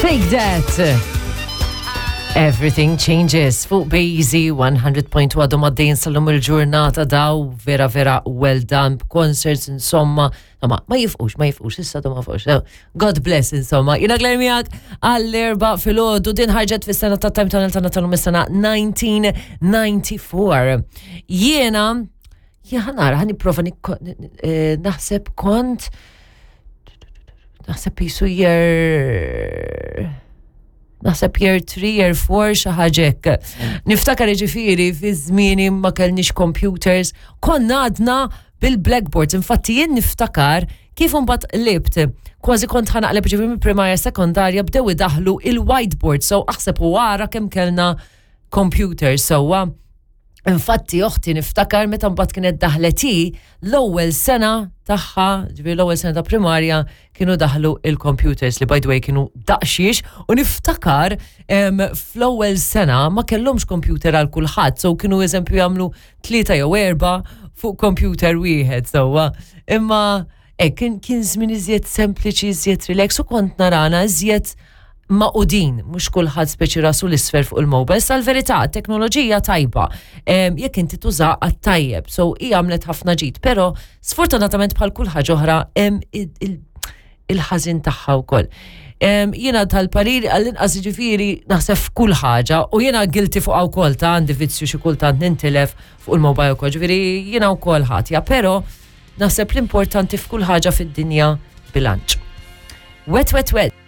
Fake That! Everything Changes fuq Bazy 100.1 għadhom għaddejjin sal-lum il-ġurnata daw vera vera well done concerts insomma ma ma jifqux ma jifqux issa ma jifqux God bless insomma jina Claire miegħek għall-erba filgħodu din ħarġet fis-sena ta' Time Tunnel tagħna tal-lum is-sena 1994 jiena Jien nara, ħan nipprova eh, naħseb kont naħseb jisu jer naħseb year 3, year 4 xi ħaġa hekk. Niftakar jiġifieri fi żmieni ma kellniex computers, konna għadna bil-blackboards. Infatti jien niftakar kif imbagħad qlibt, kważi kont ħanaqleb ġifieri minn primarja sekondarja bdew idaħlu il-whiteboard, so aħseb u ara kemm kellna computers sewwa. Infatti oħti niftakar meta mbagħad kienet daħlet hi l-ewwel sena tagħha, ġifieri l-ewwel sena ta' primarja kienu daħlu il-computers li by the way kienu daqxiex u niftakar fl-ewwel sena ma kellhomx computer għal kulħadd, so kienu eżempju jagħmlu tlieta jew erba' fuq computer wieħed sewwa. Imma Hekk kien kien żmien iżjed sempliċi, iżjed relax u kont narana iżjed maqudin, mhux kulħadd speċi rasu l-isfer fuq il-mobile. Sa l-verità, teknoloġija tajba, jekk inti tuża għat-tajjeb, so hi għamlet ħafna ġid, però sfortunatament bħal kull ħaġa oħra hemm il-ħażin tagħha wkoll. Jiena tal-parir għall-inqas ġifieri naħseb f'kull ħaġa u jiena guilty fuqha wkoll ta' għandi vizzju xi kultant nintilef fuq il-mobile wkoll, ġifieri jiena wkoll ħatja, però Naħseb l-importanti f'kull ħaġa fid-dinja bilanċ. Wet, wet, wet.